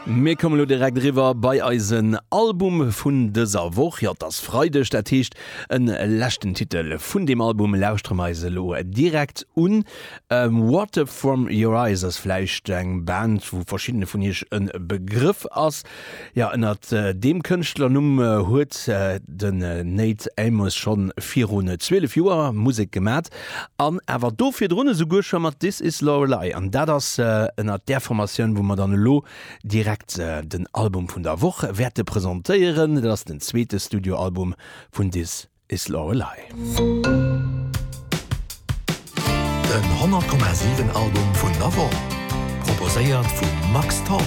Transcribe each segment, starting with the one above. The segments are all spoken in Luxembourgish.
Mir kommen elo direkt eriwwer bei eisen Album vun dëser Woch. Jo, et ass Freideg, dat heescht en leschten Titel vun deem Album lauschtere mer eis elo direkt un. Water From Your Eyes ass vläicht eng Band, wou verschiddene vun iech e Begrëff ass. Jo, ënnert deem Kënschtlernumm huet den Nate Amos schonn virun 12 Joer Musek gemat an awer do virdrun esouguer scho mat This Is Lorelei. An dat ass ënnert där Formatioun, wou mer dann elo direkt den Album vun der Woch wäerte presentéieren. Dat ass den zweete Studioalbum vun This Is Lorelei. Den 100,7 Album vun der Woch, proposéiert vum Max Tholl.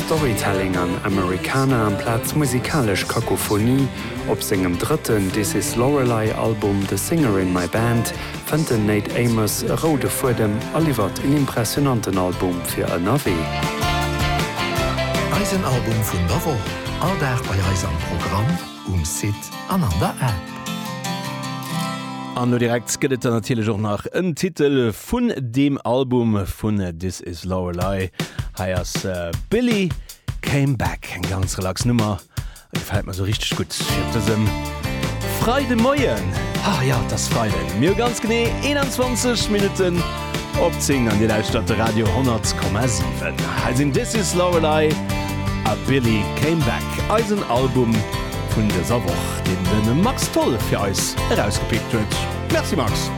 Storytelling an Americana amplaz musikalesch Kakophonie, op sengem drëtten This Is Lorelei Album The Singer In My Band fënnt den Nate Amos e roude Fuedem a liwwert en impressionanten Album fir ënnerwee. Eisen Album vun der Woch, all Dag bei eis am Programm, um Site an an der App. An lo direkt gëtt et dann natierlech och nach en Titel vun deem Album vun This Is Lorelei. Hei ass Billy Came Back, eng ganz relax Nummer. Gefält mer sou richteg gutt fir op dësem Freidemoien. Ha jo, et ass Freiden. Mir hu ganz genee 21 Minutten op 10 an Dir lauschtert de Radio 100,7. Hei sinn This Is Lorelei a Billy Came Back, eisen Album vun dëser Woch, deen de Max Tholl fir eis erausgepickt huet. Merci Max!